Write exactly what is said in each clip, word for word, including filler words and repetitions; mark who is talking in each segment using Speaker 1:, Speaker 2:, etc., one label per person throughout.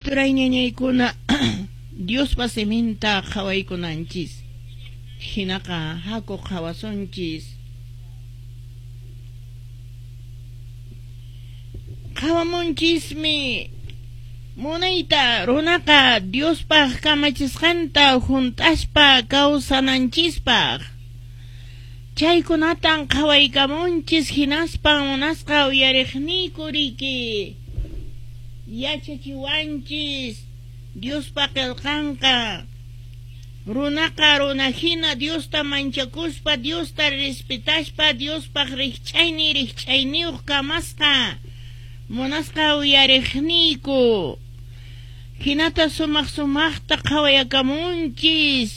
Speaker 1: Turay ñañaykuna Diospa siminta qhawaykunanchis. Hinaqa haku qhawasunchis. Qhawamunchismi munayta runaqa Diospaq kamachisqanta hunt'aspa kawsananchispaq. Chaykunatan qhawaykamunchis hinaspa munasqa uyariqniyku riki. Yachachiwanchis Diospa qillqanqa runaqa runahina Diosta manchakuspa Diosta respetaspa Diospaq rikch'ayni rikch'ayniyuq kamasqa munasqa uyariqniyku. Hinata sumaq sumaqta qhawayakamunchis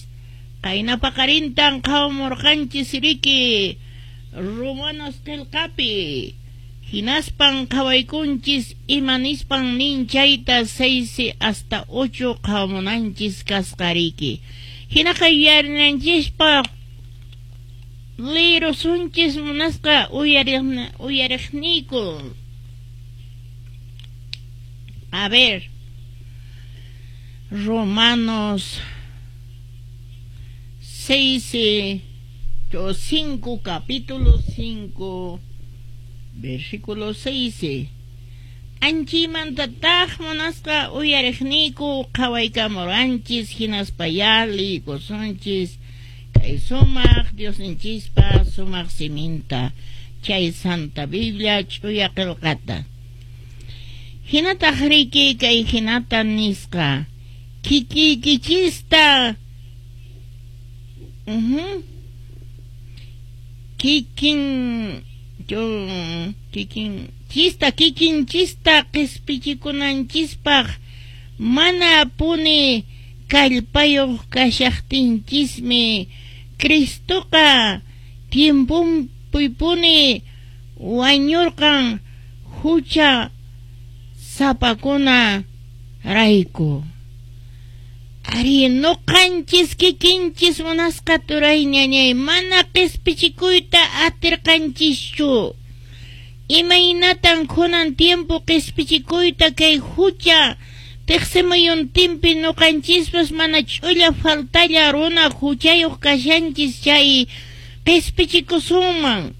Speaker 1: qayna paqarintan qhawamurqanchis riki Romanos qillqapi. Hinaspan qhawaykunchis ima nispan nin chayta seis hasta ocho qhawamunanchis kasqa riki. Hinaqa yuyarinanchispaq lirusunchis munasqa uyariqniyku. A ver, Romanos seis, cinco, capítulo cinco, versículo seis. Anchimantataq munasqa uyariqniyku qhawaykamuranchis hinaspa liykusunchis kay sumaq Diosninchispa sumaq siminta chay Santa Biblia ch'uya qillqata. Hinataq riki kay hinata nisqa kikiykichista uh-huh, kikin kikin chista kikin chista qispichikunanchispaq mana puni kallpayuq kashaqtinchismi Cristoqa tiemponpipuni wañurqan hucha sapakuna rayku. Ari nuqanchis kikinchis munasqa turay ñañay mana qispichikuyta atirqanchischu. Imaynatan kunan tiempo qispichikuyta kay hucha tiqsimuyuntinpi nuqanchispas mana ch'ulla faltalla runa huchayuq kashanchis chay qispichikusunman.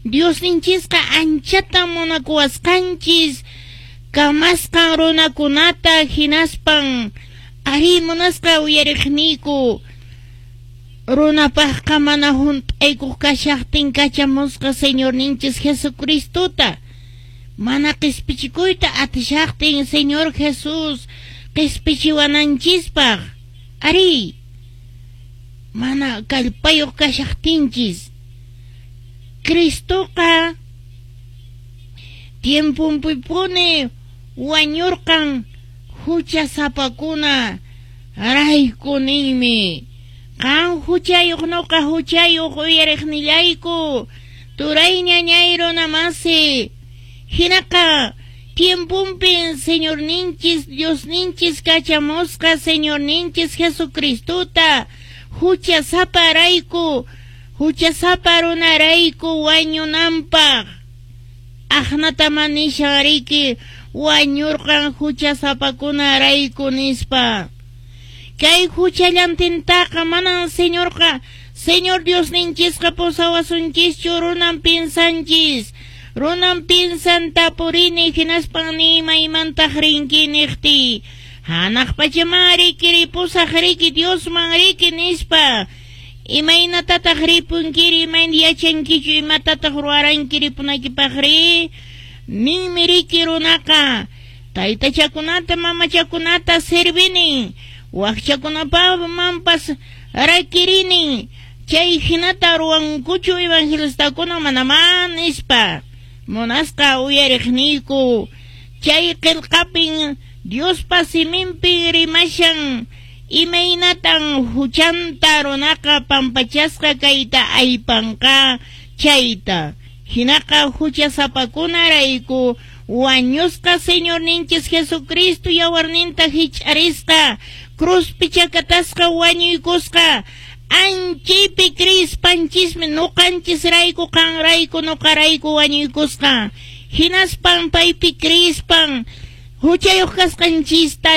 Speaker 1: Diosninchisqa anchatan munakuwasqanchis kamasqan runakunata hinaspan ari munasqa uyariqniyku runapaqqa mana hunt'aykuq kashaqtin kachamusqa Señorninchis Jesucristota mana qispichikuyta atishaqtin Señor Jesús qispichiwananchispaq. Ari mana kallpayuq kashaqtinchis Cristoqa tiemponpipuni wañurqan hucha sapakuna rayku ninmi. Qan huchayuq nuqa huchayuq uyariqnillayku turay ñañay runamasi. Hinaqa tiemponpin Señorninchis Diosninchis kachamusqa Señorninchis Jesucristota hucha saparayku hucha sapa runarayku wañunanpaq. Aqnatama nishan riki wañurqan hucha sapakunarayku nispa. Kay huchallantintaqa manan Señorqa Señor Diosninchisqa pusawasunchischu runan pinsanchis. Runan pinsan tapurini hinaspan nimaymantaq rinki niqti. Hanaq pachaman riki ripusaq riki Diosman riki nispa. Imaynatataq ripunkiri imayna yachankichu imatataq ruwaranki ripunaykipaq ri. Ninmi riki runaqa taytachakunata mamachakunata servinin wakchakunapamanpas rakirinin chay hinata ruwankuchu evangelistakuna manamá nispa. Munasqa uyariqniyku chay qillqapin Diospa siminpi rimashan imaynatan huchanta runaqa pampachasqa kayta aypanqa chayta. Hinaqa hucha sapakunarayku wañusqa Señorninchis Jesucristo yawarninta hich'arisqa cruzpi chakatasqa wañuykusqa anchaypi crispanchismi nuqanchisrayku qanrayku nuqarayku wañuykusqa. Hinaspan paypi crispan Huchayuq kasqanchista.